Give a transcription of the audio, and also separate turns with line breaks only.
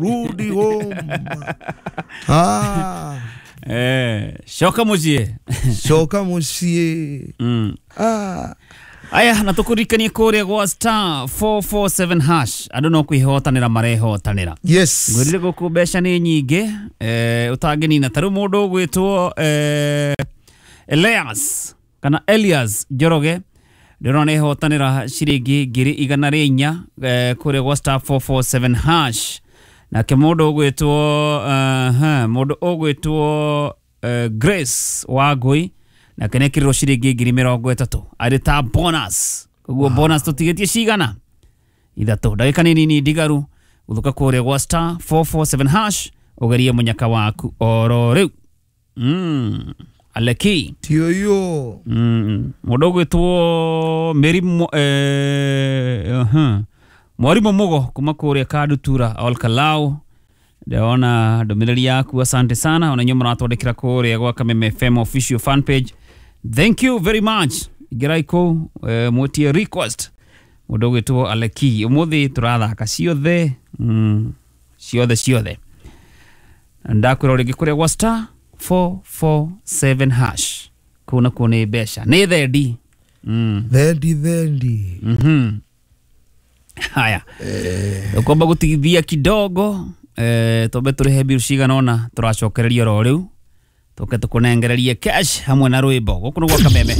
Rudi home. Ah,
Coka mũciĩ.
Coka mũciĩ. Ah.
Aya, na tũkũririkanie kũrĩa gwa *447# andũ no kwĩhotanĩra marehotanĩra. Ngwĩrire gũkũ mbeca nĩ nyingĩ, ũtangĩnina. Ta rĩu mũndũ ũgwĩtwo Elias kana Elias Njoroge, ndĩrona nĩhotanĩra ciringi 104,000 kũrĩa gwa *447#. Nake mũndũ ũgwĩtwo mũndũ ũgwĩtwo Grace Wangui nake nĩekĩrirwo ciringi 30,000 arĩ ta bonus. Koguo bonus tũtigĩtie cigana 3, ndagĩka nĩ nini ndigaru. Gũthũka kũrĩa gwa *447# ũgerie mũnyaka waku oro rĩu. Aleki.
Tioyo.
Mũndũ ũgwĩtwo Mary Mwarimũ Mũgo kuma kũrĩa Kandutura Olkalau, ndĩrona ndũmĩrĩri yaku, asante sana. Ona inyuĩ mũratwandĩkĩra kũrĩa gwa Kameme FM official fan page, thank you very much. Ingĩrai kũu, mwĩtie request. Mũndũ ũgwĩtwo Aleki, ũmũthĩ tũrathaka ciothe, ciothe ciothe. Ndakwĩra rĩngĩ, kũrĩa gwa *447# kũu nakuo nĩ mbeca nĩ thendi.
Thendi thendi.
Haya, ũkwamba gũtigithia kidogo, twambe tũrĩhe bill cigana ũna, tũracokereria oro rĩu, tũke tũkũnengererie cash hamwe na rwĩmbo. Gũkũ nĩ gwa Kameme.